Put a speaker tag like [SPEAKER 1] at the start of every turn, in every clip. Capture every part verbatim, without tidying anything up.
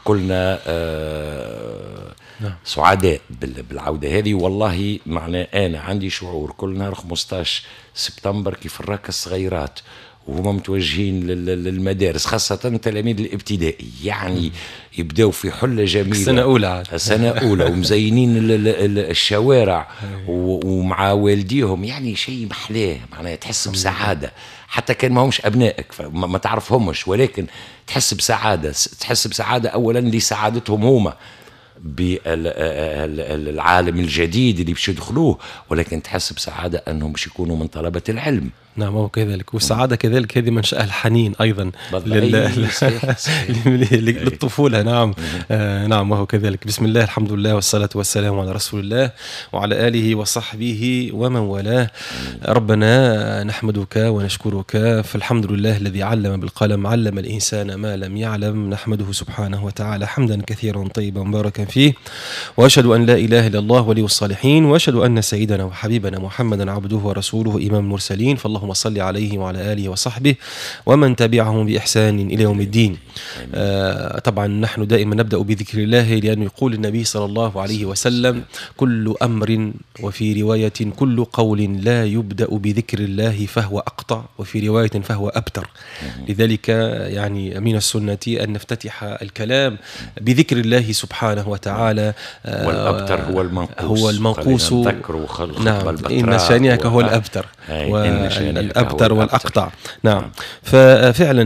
[SPEAKER 1] كلنا آه
[SPEAKER 2] نعم.
[SPEAKER 1] سعداء بالعودة هذه. والله معناه انا عندي شعور كل نهار خمسطاش سبتمبر كيف نراك الصغيرات وهما متوجهين للمدارس، خاصة تلاميذ الابتدائي، يعني يبداو في حلة جميلة.
[SPEAKER 2] سنة أولى.
[SPEAKER 1] سنة أولى، ومزينين الشوارع ومع والديهم، يعني شيء محلاه، معناها تحس بسعادة حتى كان ما همش أبنائك، ما تعرفهمش، ولكن تحس بسعادة، تحس بسعادة أولا لسعادتهم هما بالعالم الجديد اللي باش يدخلوه، ولكن تحس بسعادة أنهم باش يكونوا من طلبة العلم.
[SPEAKER 2] نعم، هو كذلك، والسعادة كذلك هذه منشأ الحنين أيضا لل... للطفولة. نعم آه نعم، وهو كذلك. بسم الله، الحمد لله، والصلاة والسلام على رسول الله وعلى آله وصحبه ومن والاه. ربنا نحمدك ونشكرك، فالحمد لله الذي علم بالقلم، علم الإنسان ما لم يعلم. نحمده سبحانه وتعالى حمدا كثيرا طيبا مباركا فيه، وأشهد أن لا إله إلا الله ولي الصالحين، وأشهد أن سيدنا وحبيبنا محمدا عبده ورسوله إمام المرسلين، فاللهم صل عليه وعلى آله وصحبه ومن تبعهم بإحسان إلى يوم الدين. آه طبعا نحن دائما نبدأ بذكر الله، لأنه يقول النبي صلى الله عليه وسلم: كل أمر، وفي رواية كل قول لا يبدأ بذكر الله فهو أقطع، وفي رواية فهو أبتر. لذلك يعني من السنة أن نفتتح الكلام بذكر الله سبحانه وتعالى.
[SPEAKER 1] آه والأبتر هو المنقوص،
[SPEAKER 2] هو المنقوص. نعم، إن شانئك هو الأبتر، الأبتر والأقطع. نعم، ففعلا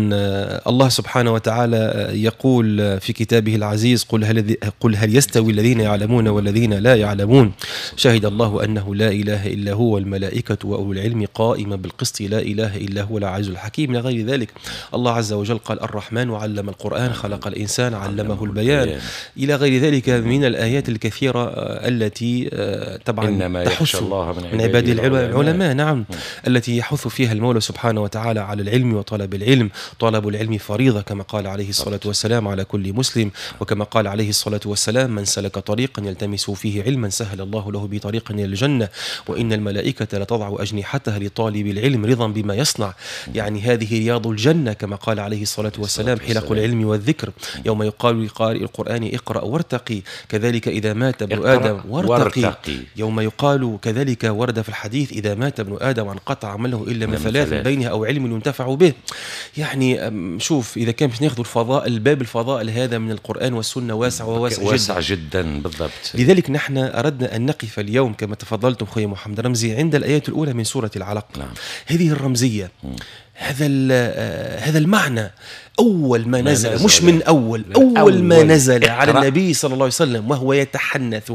[SPEAKER 2] الله سبحانه وتعالى يقول في كتابه العزيز: قل هل, قل هل يستوي الذين يعلمون والذين لا يعلمون، شهد الله أنه لا إله إلا هو والملائكة وأولو العلم قائما بالقسط، لا إله إلا هو العزيز الحكيم. إلى غير ذلك. الله عز وجل قال: الرحمن علم القرآن، خلق الإنسان علمه البيان، إلى غير ذلك من الآيات الكثيرة التي طبعا تحث
[SPEAKER 1] الله
[SPEAKER 2] من عباد العلماء. نعم، التي يحث فيها المولى سبحانه وتعالى على العلم وطلب العلم. طلب العلم فريضة كما قال عليه الصلاة والسلام على كل مسلم، وكما قال عليه الصلاة والسلام: من سلك طريقا يلتمس فيه علما سهل الله له بطريقا إلى الجنة، وإن الملائكة لتضع أجنحتها لطالب العلم رضا بما يصنع. يعني هذه رياض الجنة كما قال عليه الصلاة والسلام: حلق العلم والذكر، يوم يقال لقارئ القرآن اقرأ وارتقي، كذلك إذا مات ابن آدم وارتقي. وارتقي. يوم يقال كذلك ورد في الحديث: إذا مات ابن آدم وانقطع عمله إلا من ثلاث، بينها أو علم ينتفع به. يعني شوف، إذا كان باش ناخذ الفضاء، الباب الفضائل هذا من القرآن والسنة واسع وواسع جدا،
[SPEAKER 1] واسع جدا بالضبط.
[SPEAKER 2] لذلك نحن أردنا أن نقف اليوم كما تفضلتم خويا محمد رمزي عند الآيات الأولى من سورة العلق.
[SPEAKER 1] نعم.
[SPEAKER 2] هذه الرمزية، م. هذا هذا المعنى أول ما نزل, نزل مش من أول أول, أول ما نزل اقرأ. على النبي صلى الله عليه وسلم وهو يتحنث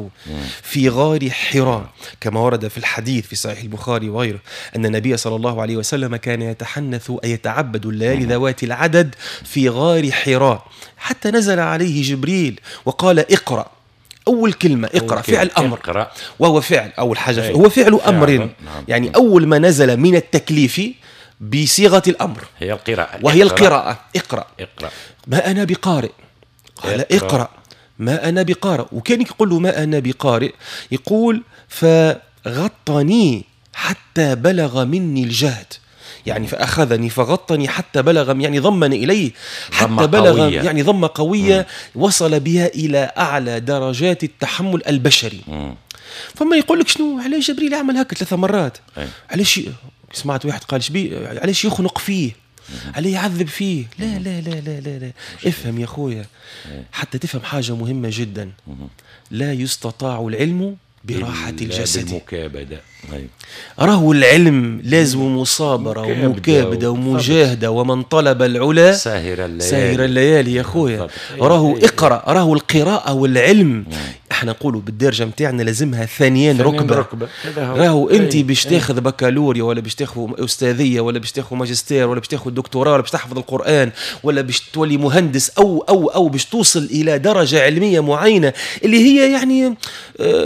[SPEAKER 2] في غار حراء، كما ورد في الحديث في صحيح البخاري وغيره أن النبي صلى الله عليه وسلم كان يتحنث أي يتعبد الليالي ذوات العدد في غار حراء، حتى نزل عليه جبريل وقال: اقرأ. أول كلمة اقرأ، فعل أمر،
[SPEAKER 1] اقرأ.
[SPEAKER 2] وهو فعل أول حاجة، هو فعل أمر.
[SPEAKER 1] نعم.
[SPEAKER 2] يعني أول ما نزل من التكليف بصيغة الأمر
[SPEAKER 1] هي القراءة،
[SPEAKER 2] وهي القراءة. اقرأ.
[SPEAKER 1] اقرأ.
[SPEAKER 2] ما أنا بقارئ، قال اقرأ. اقرأ ما أنا بقارئ، وكان يقول له ما أنا بقارئ، يقول: فغطني حتى بلغ مني الجهد. يعني فأخذني فغطني حتى بلغ، يعني ضمني إليه حتى بلغ
[SPEAKER 1] قوية.
[SPEAKER 2] يعني ضمة قوية مم. وصل بها إلى أعلى درجات التحمل البشري.
[SPEAKER 1] مم.
[SPEAKER 2] فما يقول لك شنو، علاش جبريل عمل هكا ثلاث مرات؟ علاش؟ سمعت واحد قال شبي علاش يخنق فيه، عليه يعذب فيه. لا لا لا لا لا, لا. افهم يا خويا، حتى تفهم حاجة مهمة جدا: لا يستطاع العلم براحة الجسد،
[SPEAKER 1] بالمكابدة.
[SPEAKER 2] راهو العلم لازم مصابرة ومكابدة ومجاهدة، ومن طلب العلا
[SPEAKER 1] ساهر الليالي،
[SPEAKER 2] ساهر الليالي يا خويا. راهو اقرأ، راهو القراءة والعلم احنا نقولوا بالدرجة متاعنا لازمها ثانيين ركبة,
[SPEAKER 1] ركبة.
[SPEAKER 2] راهو انت باش تاخذ بكالوريا ولا باش تاخذ أستاذية ولا باش تاخذ ماجستير ولا باش تاخذ دكتوراه ولا باش تحفظ القرآن ولا باش تولي مهندس أو أو أو باش توصل إلى درجة علمية معينة اللي هي يعني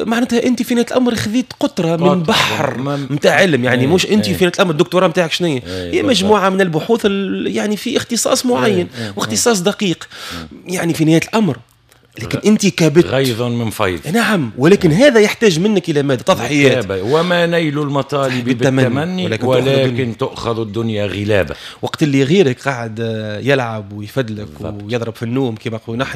[SPEAKER 2] معناتها انت في نهاية الأمر خذيت قطرة من بحر متاع علم. يعني
[SPEAKER 1] ايه
[SPEAKER 2] مش انت
[SPEAKER 1] ايه
[SPEAKER 2] في نهاية الأمر الدكتوراه متاعك شنو هي؟
[SPEAKER 1] ايه
[SPEAKER 2] مجموعة من البحوث يعني في اختصاص معين
[SPEAKER 1] ايه
[SPEAKER 2] واختصاص دقيق يعني في نهاية الأمر، لكن انت كبت
[SPEAKER 1] غيظ من فيض.
[SPEAKER 2] نعم، ولكن هذا يحتاج منك الى ماذا؟ تضحيات.
[SPEAKER 1] وما نيل المطالب بالتمني ولكن, ولكن تؤخذ الدنيا غلابة.
[SPEAKER 2] وقت اللي غيرك قاعد يلعب ويفدلك ويضرب في النوم كما نقولوا نحن.